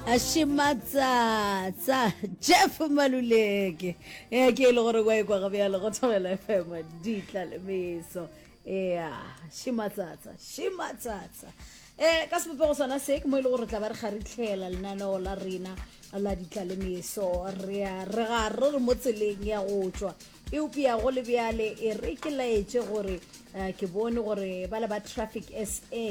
Šimatsatsa Jeff Maluleke ea ke e le gore kwa ekwa gabjale go Thobela FM ditla le meso ea šimatsatsa šimatsatsa um ka sebopego sona se ke mo e le gore tla ba re kgaritlhela lenaneo la rena la ditla le meso re a re ga re re mo tseleng ya go tšwa eupša go le bjale e re ke laetše gore eh, ke bone gore ba le ba traffic sa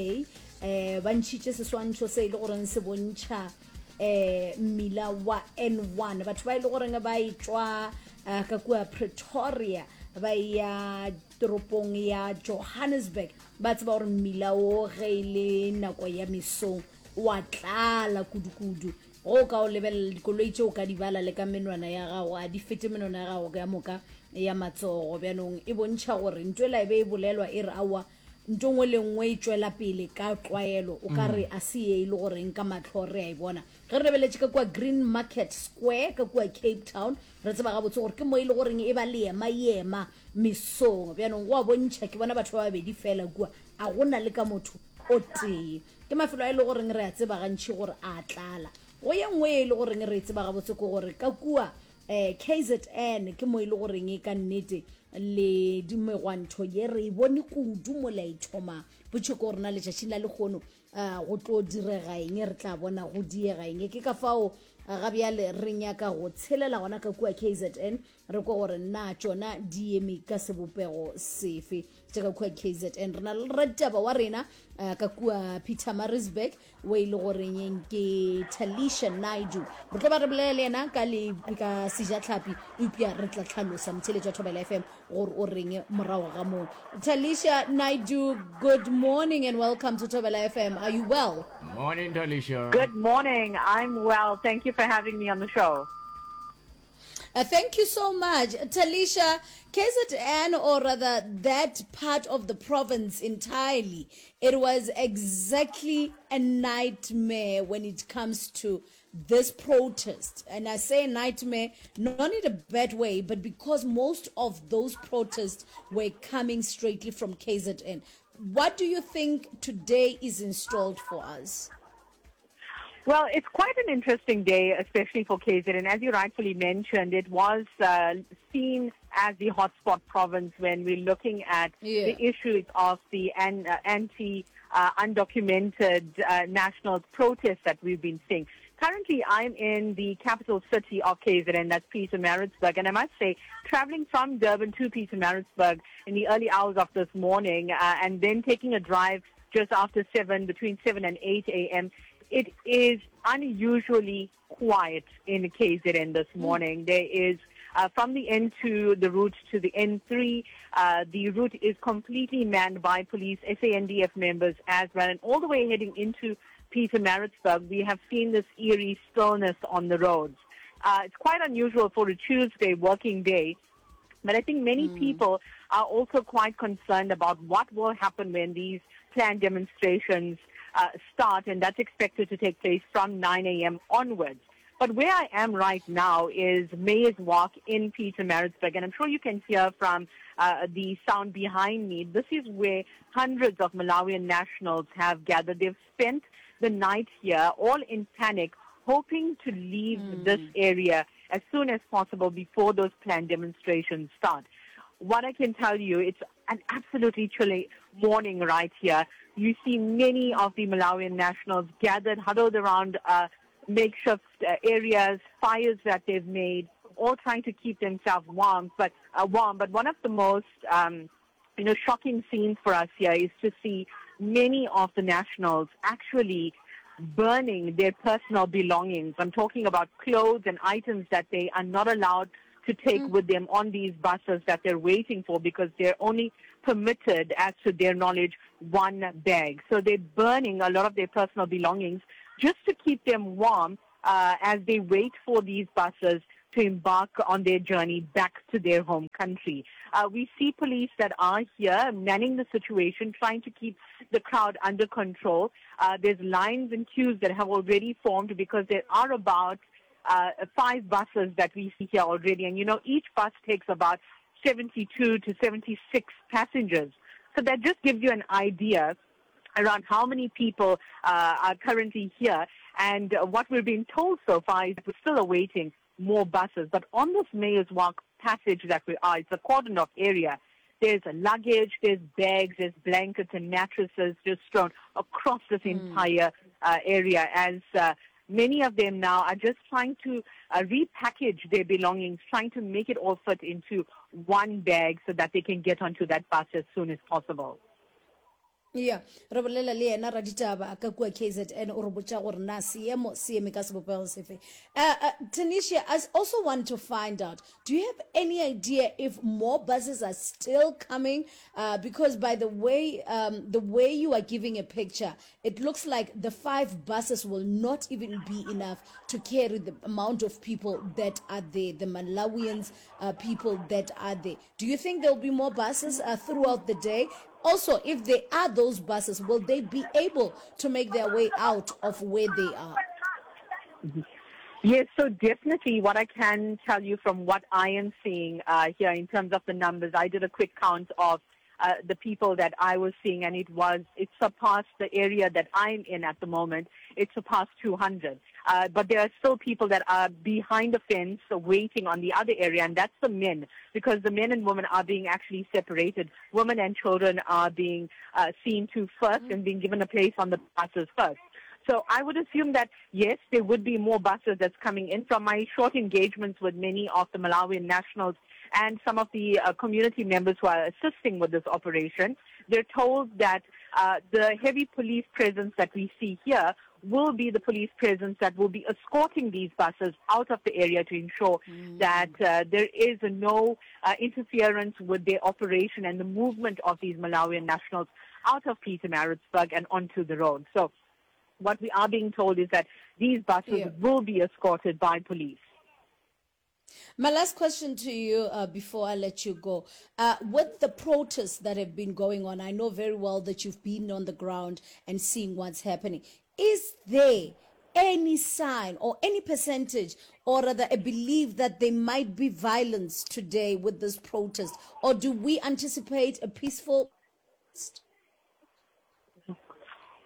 eh ba ntšhitše seswantšho se e le goreng se bontšha eh mmila wa N1 batho ba e le goreng ba e tšwa eh, ka kua Pretoria ba ya toropong ya Johannesburg ba tseba gore mmila o ge e le nako ya mesong wa tlala kudu-kudu go o ka o lebelela dikoloi tše o ka di bala le ka menwana ya gago a di fete menwana ya gago ka moka ya matsogo bjanong e bontšha gore ntho ela e be e bolelwa e re aowa Nto nngwe le nngwe e tšwela pele ka tlwaelo, o ka re a se ye e le goreng ka mahlo re a e bona. Ge re lebeletše ka kua Green Market Square ka kua Cape Town, re tseba gabotse gore ke mo e le goreng e ba leema-ema mesong. Bjanong go a bontšha, ke bona batho ba babedi feela kua, a go na le ka motho o tee. Ke mafelo a e le goreng re a tseba gantši gore a tlala. Go ye nngwe ye e le goreng re e tseba gabotse ke gore ka kua Eh, KZN ke mo e le goreng e ka nnete le dimegwantho ye re e bone kudu mola e thoma potšo ke gore na letšatšing la lehono uh, go tlo direga eng re tla bona go diega eng ke ka fao eh, ga bjale re nyaka go tshelela gona ka kua KZN re kwa gore na tšona di eme ka sebopego sefe tša ka kua KZN re na le raditaba wa rena uh, ka kua Pietermaritzburg o e le goreng ke Talisha Naidu re tlo ba re bolela le yena ka le ka sejatlhapi eupša re tla tlhalosa motheletši wa Thobela FM gore o reng morago ga moo Talisha Naidu good morning and welcome to Thobela FM are you well Morning Talisha Good morning I'm well thank you for having me on the show Uh, thank you so much. Talisha, KZN, or rather that part of the province entirely, it was exactly a nightmare when it comes to this protest. And I say nightmare not in a bad way, but because most of those protests were coming straightly from KZN. What do you think today is installed for us? Well, it's quite an interesting day, especially for KZN. As you rightfully mentioned, it was uh, seen as the hotspot province when we're looking at yeah. the issues of the an, uh, anti uh, undocumented uh, nationals protests that we've been seeing. Currently, I'm in the capital city of KZN, that's Pietermaritzburg, and I must say, traveling from Durban to Pietermaritzburg in the early hours of this morning uh, and then taking a drive just after 7, between 7 and 8 a.m., it is unusually quiet in KZN this hmm. morning. Mm. There is uh, from the N2, the route to the N3, uh, the route is completely manned by police, SANDF members as well, and all the way heading into Pietermaritzburg, we have seen this eerie stillness on the roads. Uh, it's quite unusual for a Tuesday working day but I think many mm. people are also quite concerned about what will happen when these planned demonstrations uh, start, and that's expected to take place from 9 a.m. onwards. But where I am right now is Mayor's Walk in Pietermaritzburg, and I'm sure you can hear from uh, the sound behind me. This is where hundreds of Malawian nationals have gathered. They've spent the night here, all in panic, hoping to leave mm. this area as soon as possible before those planned demonstrations start. What I can tell you, it's an absolutely chilly morning right here. You see many of the Malawian nationals gathered, huddled around uh, makeshift uh, areas, fires that they've made, all trying to keep themselves warm. But uh, warm. But one of the most um, you know, shocking scenes for us here is to see many of the nationals actually burning their personal belongings. I'm talking about clothes and items that they are not allowed to take mm. with them on these buses that they're waiting for because they're only permitted, as to their knowledge, one bag. So they're burning a lot of their personal belongings just to keep them warm uh, as they wait for these buses to embark on their journey back to their home country. Uh, we see police that are here manning the situation, trying to keep the crowd under control. Uh, there's lines and queues that have already formed because there are about uh, five buses that we see here already. And you know, each bus takes about 72 to 76 passengers. So that just gives you an idea around how many people uh, are currently here. And what we're being told so far is we're still awaiting more buses. But on this Mayor's Walk passage that we are, it's a cordoned off area. There's luggage, there's bags, there's blankets and mattresses just thrown across this mm. entire area as many of them now are just trying to repackage their belongings, trying to make it all fit into one bag so that they can get onto that bus as soon as possible. Ya, re bolela le yena raditaba ka kua KZN, o re botša gore na seemo se eme ka sebopego sefe. Uh, uh, Tanisha, I also want to find out, do you have any idea if more buses are still coming? Uh, because by the way, um, the way you are giving a picture, it looks like the five buses will not even be enough to carry the amount of people that are there, the Malawians uh, people that are there. Do you think there will be more buses uh, throughout the day? Also, if there are those buses, will they be able to make their way out of where they are? Yes, so definitely what I can tell you from what I am seeing uh, here in terms of the numbers, I did a quick count of uh, the people that I was seeing, and it was it surpassed the area that I'm in at the moment. It surpassed 200. Uh, but there are still people that are behind the fence waiting on the other area, and that's the men, because the men and women are being actually separated. Women and children are being uh, seen to 1st mm-hmm. and being given a place on the buses first. So I would assume that, yes, there would be more buses that's coming in. From my short engagements with many of the Malawian nationals and some of the uh, community members who are assisting with this operation, they're told that uh, the heavy police presence that we see here will be the police presence that will be escorting these buses out of the area to ensure mm. that uh, there is no uh, interference with their operation and the movement of these Malawian nationals out of Pietermaritzburg and onto the road. So what we are being told is that these buses yeah. will be escorted by police. My last question to you uh, before I let you go. Uh, with the protests that have been going on, I know very well that you've been on the ground and seeing what's happening. Is there any sign or any percentage or rather a belief that there might be violence today with this protest? Or do we anticipate a peaceful protest?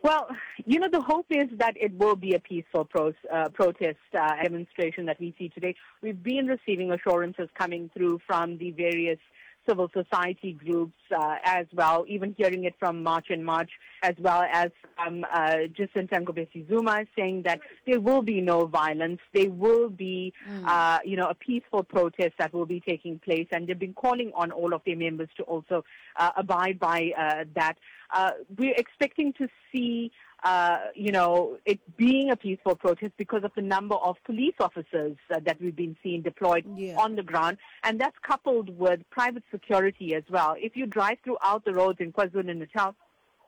Well, you know, the hope is that it will be a peaceful pro- uh, protest uh, demonstration that we see today. We've been receiving assurances coming through from the various civil society groups uh, as well, even hearing it from March and March, as well as from uh, Jacinta Ngobese Zuma saying that there will be no violence, there will be, mm. you know, a peaceful protest that will be taking place, and they've been calling on all of their members to also uh, abide by uh, that. Uh, we're expecting to see uh, you know, it being a peaceful protest because of the number of police officers uh, that we've been seeing deployed yeah. on the ground. And that's coupled with private security as well. If you drive throughout the roads in KwaZulu-Natal,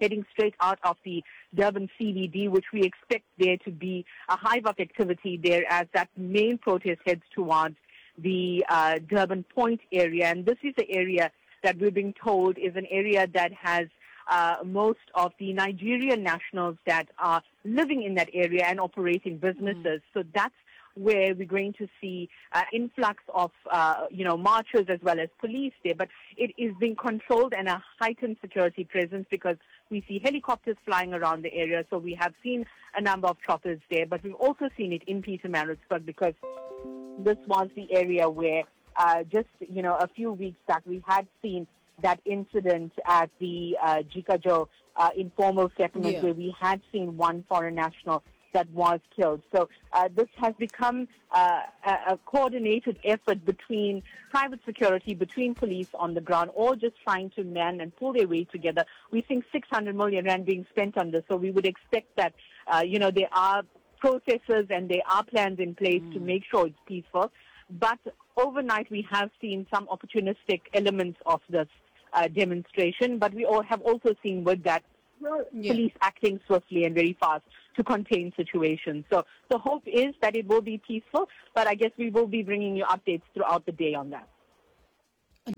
heading straight out of the Durban CBD, which we expect there to be a hive of activity there as that main protest heads towards the uh, Durban Point area. And this is the area that we're being told is an area that has uh, most of the Nigerian nationals that are living in that area and operating businesses. Mm. So that's where we're going to see uh, influx of, uh, you know, marchers as well as police there. But it is being controlled and a heightened security presence because we see helicopters flying around the area. So we have seen a number of choppers there, but we've also seen it in Pietermaritzburg because this was the area where uh, just, you know, a few weeks back we had seen that incident at the uh, Jikajo uh, informal settlement yeah. where we had seen one foreign national that was killed. So uh, this has become uh, a, a coordinated effort between private security, between police on the ground, all just trying to man and pull their weight together. We think 600 million rand being spent on this, so we would expect that, uh, you know, there are processes and there are plans in place mm. to make sure it's peaceful. But overnight, we have seen some opportunistic elements of this uh, demonstration, but we all have also seen with that yeah. police acting swiftly and very fast to contain situations. So the hope is that it will be peaceful, but I guess we will be bringing you updates throughout the day on that.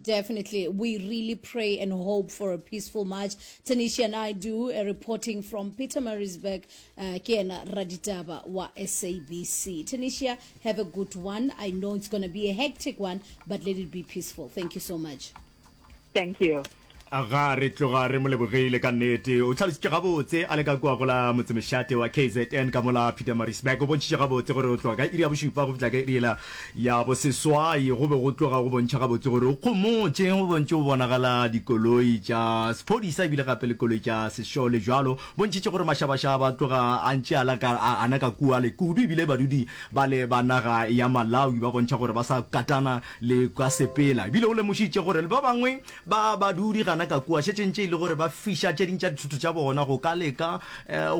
Definitely. We really pray and hope for a peaceful march. Tanisha and I do a reporting from Pietermaritzburg, uh, ke yena raditaba wa SABC. Tanisha, have a good one. I know it's going to be a hectic one, but let it be peaceful. Thank you so much. Thank you. Aga, re tloga re mo lebogile ka nnete. O hlalositše gabotse a le ka kua go la motsemešate wa KZN ka mola Pietermaritzburg. O bontšhitše gabotse gore go tloga ka iri ya bošupa go fihla ka iri yela ya boseswai go be go tloga go bontšha gabotse gore o khomotše, go bontše go bonagala dikoloi tša sephodisa ebile gape le koloi tša sešole bjalo. Bontšhitše gore mašabašaba a tloga a ntše a la ka a ana ka kua le kudu ebile badudi bale ba naga ya Malawi ba bontšha gore ba sa katana le ka sepela. Ebile o lemošitše gore le ba bangwe Ba badudi gana ka kua šetše ntše e le gore ba fiša tše ding tša dithoto tša bona go ka leka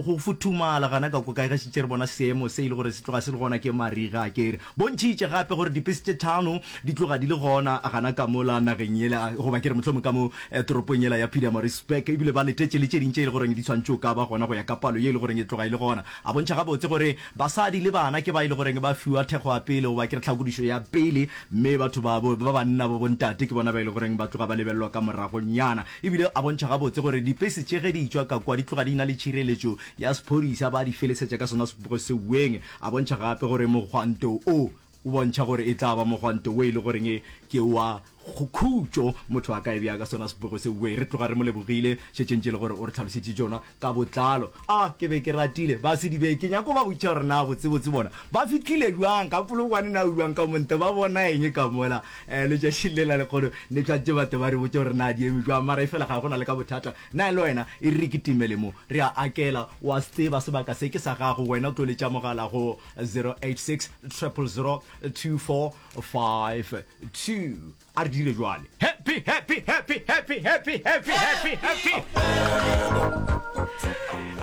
go futhumala gana ka kua ka ge šetše re bona seemo se e le gore se tloga se le gona ke mariga. Ke re bontšhitše gape gore dipese tše thano di tloga di le gona gana ka mola nageng yela goba ke re mohlomong ka mo toropong yela ya Pietermaritzburg ebile ba letetše le tše ding tše e le goreng di swanetše go ka ba gona go ya ka palo ye e le goreng e tloga e le gona. A bontšha gabotse gore basadi le bana ke ba e le goreng ba fiwa thekgo ya pele goba ke re tlhakodišo ya pele Mme batho ba bo, ba banna bo bontate ke bona ba e le goreng ba tloga ba lebelelwa ka moragonyana. E bile a bontšha gabotse gore dipese tše ge di etšwa ka kwa di tloga di na le tšhireletšo ya sephodisa, ba di felesetša ka sona sebopego seweng. A bontšha gape gore mogwanto o o bontšha gore e tla ba mogwanto wo e le goreng ke wa khutšo, motho a ka e bea ka sona sebopego seweng. Re tloga re mo lebogile šetše ntše e le gore o re hlalošetše tšona ka botlalo. A ke be ke ratile ba Sedibe, ke nyako ba botšiša gore na botsebotse bona ba fihlile bjang ka Polokwane, na bjang ka monte, ba bona eng ka mola. Um letšatšing le la lekgono ne tshwantše batho ba re botše gore na di eme bjang, mara efela ga go na le ka bothata. Na le wena e re re kitimele mo, re a akela, wa se tseba sebaka se ke sa gago, wena o tlo letša mogala go 086 000 2452. A re dire jwale. Happy, happy, happy, happy, happy, happy, happy, happy.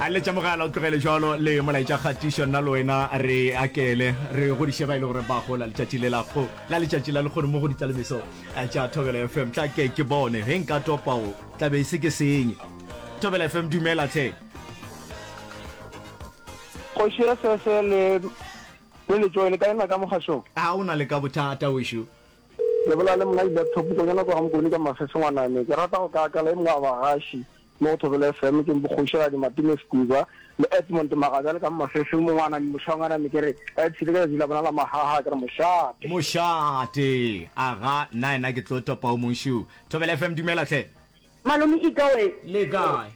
A letša mogala o tlogele jwalo le molaetša kgatišo nna le wena re akele re godiše ba e le gore ba gola letšatši le la go la letšatši la lekgono mo go ditlalemeso eh, tša Thobela FM. Tla ke ke bone ge nka topa o tla be e se ke senye. Thobela FM dumela tlhe. Kgoši ya Sese le le Letšoe le kae na ka mogašong? A o na le ka bothata wešo? Le bolela le monna Laptop Konyana kwa Gamokone ka Mafefe ngwaname. Ke rata go ka akala e mongwe wa bagaši mo go Thobela FM ke Bokgošigadi Matime Sekuba le Edmond Magabjale ka Mafefe mo ngwaname mošwa ngwaname ke re ba ipshine ka letšatši la bona la mahaha ke re mošate. Mošate! Aga, nna ena ke tlo topa o mong šu. Thobela FM dumela hle. Malome Ikawe. Le kae?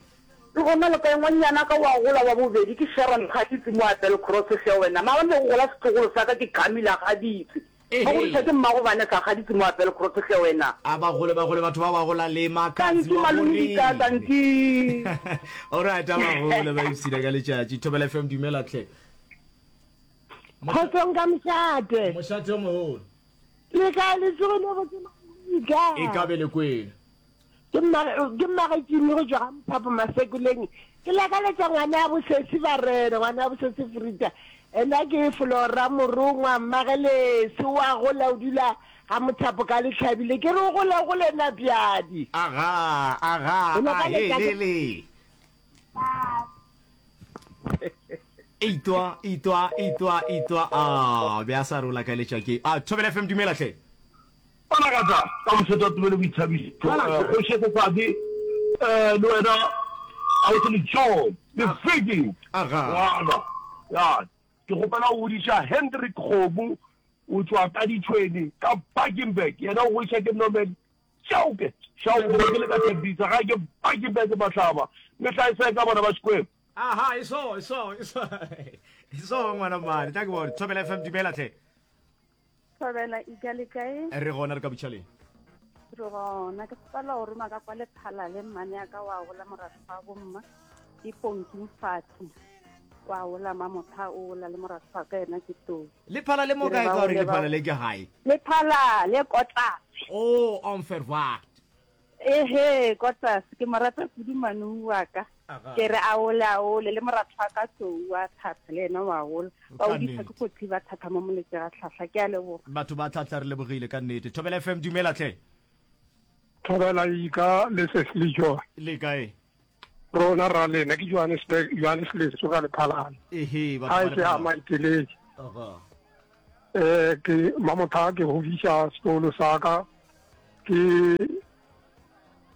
Le gona le kae? Ngwannyana ka wa gola wa bobedi ke Sharon Gaditse mo Applecross hle wena. Maabane be go gola setlogolo sa ka ke Camilla Gaditse. Ba godiša ke mmago Vanessa Gaditse mo Applecross hle wena. A ba gole ba gole batho ba ba gola le Makhadzi Tanki wa malome Dika Moriri. tanki. Alright a ba gole ba ipshina ka letšatši. Thobela FM dumela hle. Kgotsong ka mošate. Mošate o mogolo. Le kae le tsogile botse malome Dika? E ka be le kwele. Ke mma, ke mmagetšimi go tšwa ga Mphapho Masekoleng. Ke lakaletša ngwana ya bosesi Barena, ngwana ya bosesi Frida. Ena ke Flora Morongwa, mmagelesi wa gola o dula ga Mothapo ka Lehlabile. Ke re o gole gole Napjadi. Aga, aga, O a lakaletša he ke le le. Itwa, itwa, itwa, itwa, a be a sa re o lakaletša ke. A Thobela FM dumela hle. Bonagatša ka mošate wa tsebo le boithabišo. Kgoši ya Sesadi le wena Ausi Letšong le Vicky Ngwana. Ya, ke kgopela go godiša Hendrick Kgomo o tšwa ka Ditšhweni ka Bakenberg. Yena o godiša ke Norman Chauke. Chauke ke le ka Tembisa gae ke Bakenberg Mahlaba. Mehla e sa ka bona ba Xikwembu. Aha, e so, e so, e so. E so ngwana mmane. Tla ke bone. Thobela FM dumela hle. Thobela ika le kae? Re gona re ka botšhaleng. Re gona ke kgopela go roma ka kwa lephala le mmane ya ka wa gola moratho wa bomma ke ponki mfathi wa gola mamotha o gola le moratho wa ka yena ke tou. Lephala le mo kae ka gore lephala le ke gae? Lephala le kotlase. Oh, onverwacht. Ehe, ko tlase. Ke mo rata kudu manu wa ka. Ke re a ole a ole le moratho wa ka Tlou wa thatha le yena wa gola. Ba Ka o disa ke nnete. kotsi ba thatha mo moletse ga tlhahla. Ke a leboga. Batho ba tlhahla re lebogile ka nnete. Thobela FM dumela hle. Thobela Ika le Sesli Joy. Le kae? Rona ra lena ke Johannesburg Johannes Leso ka Lephalane. Ehe, batho Ga ba e ke a Lephalane. maiteletše. Aga. Eh ke mamotha ke godiša sekolo sa ka ke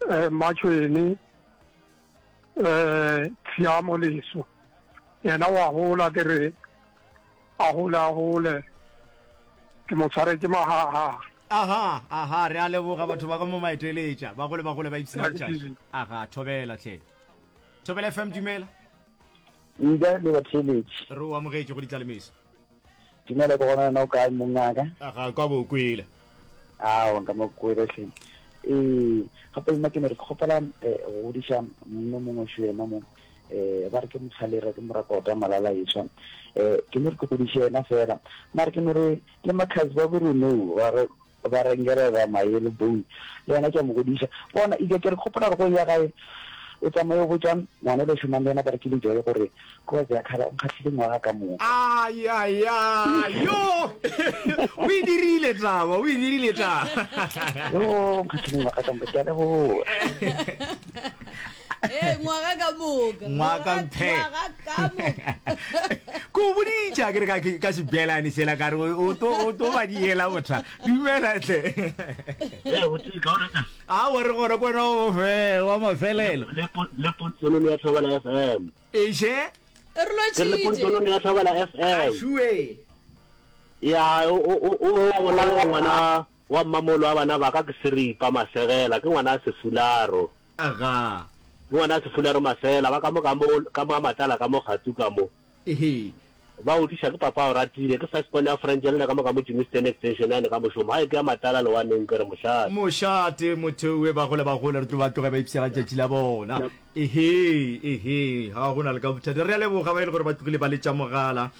eh Matšhwene eh Tshiamo Leso. Yena wa gola ke re a gole a gole ke mo tshwaretše mahaha. Aha, aha, re a leboga batho ba ka mo maeteletša. Bagole bagole ba ipshina letšatši. Aha, thobela hle. Thobela FM dumela. Nka le batheeletši. Re o amogetše go ditlalemeso. Dumela ke gona wena o kae mongaka? Aga kwa bo kwele. Aowa nka mo kwele hle. Ee, gape nna ke no re ke kgopela eh, go godiša monna mongwe šo yena mo eh ba re ke mokgalera ke morakota malala etswa eh ke no re ke godiše yena fela mare ke no re le makhazi ba boreneu ba re ba rengerera mayelo bone le yena ke a mo godiša bona ike ke re kgopola gore go ya gae o tsamaye o botša ngwana o le šomang le yena ba re ke lejoe gore ko ya khala o nkgahlile ngwaga ka moka ayaya yo o e dirile taba o e dirile taba yo nkgahlile ngwaga ka moka ke a leboga Ee, ngwaga ka moka. Ngwaga mphe. Ngwaga ka moka. Ko boditša ke re ka ka sebelane sela ka re o to o to ba diela botha. Dumela tle. Ee, o tee ka o reka. A wa re gona kwana o fe wa mafelelo. Le le pontsonono ya Thobela FM. Eše. Re Ke le pontsonono ya Thobela FM. Šue. Ya o o o o ngwana wa mmamolo wa bana ba ka ke seripa masegela ke ngwana a sefularo. Aga. Ke ngwana Sefularo Masela, ba ka mo ka mo, ka mo a Matlala ka mo Kgatsu ka mo. Ehe. Ba odiša ke papa Oratile, ke first born ya French le na ka mo ka mo Germiston Extension yane ka mošomo. Hae ke ya Matlala lewaneng ke re mošate. Mošate motho we bagole bagole re tlo ba tloge ba ipshega tšatši la bona. Ehe, ehe, ga go na le ka bothata. Re a leboga ba e le gore ba tlogile ba letša mogala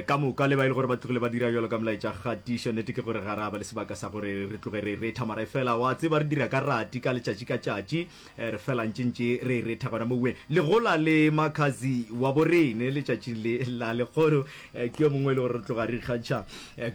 ka moka le ba e le gore ba tlogile ba dira bjalo ka molaetša kgatišo. Nnete ke gore ga ra ba le sebaka sa gore re tloge re retha mara efela wa tseba re dira ka rati ka letšatši ka tšatši re fela ntše ntše re retha gona mowe. Legola le Makhazi wa borene letšatšing le la lekgono ke yo mongwe e le gore re tloga re ikgantšha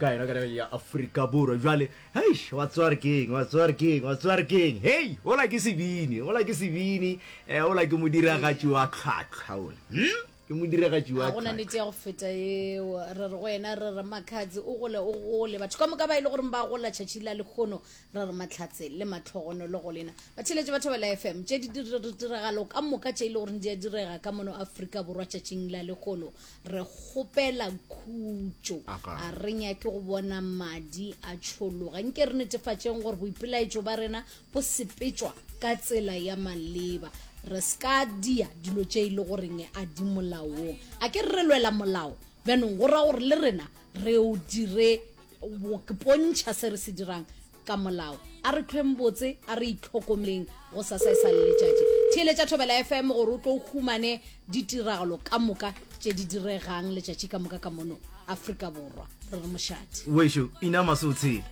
ka yena ka nageng ya Afrika Borwa. Bjale Heish, wa tseba gore ke eng, wa tseba gore ke eng, wa tseba gore ke eng. Hei, ola ke sebini, ola ke sebini, eh, ola ke modiragatši wa tlhwatlhwa ola. Hmm? Ke modiragatši wa ga gona nnete ya go feta eo re re go wena re re makhadzi o gole o gole batho ka moka ba e le goreng ba gola tšhatši la lekgono re re matlhatse le matlhogono le go lena batheletše ba thobela fm tše di ditiragalo ka moka tše e le goreng di a direga ka mono afrika borwa tšatšing la lekgono Re kgopela khutšo. A re nyake go bona madi a tšhologa. Nke re netefatšeng gore boipelaetšo ba rena bo sepetšwa ka tsela ya maleba. Re se ka dia dilo tše e le goreng a di molaong. A ke re re lwela molao, bjanong go ra gore le rena re o dire go pontšha se re se dirang ka molao. A re hlweng botse, a re itlhokomeleng go sasa e sa le letšatši. Theeletša Thobela FM gore o tlo o humane ditiragalo ka moka tše di diregang letšatši ka moka ka mono Afrika Borwa. Re re mošate. Wešo, inama se o tshele.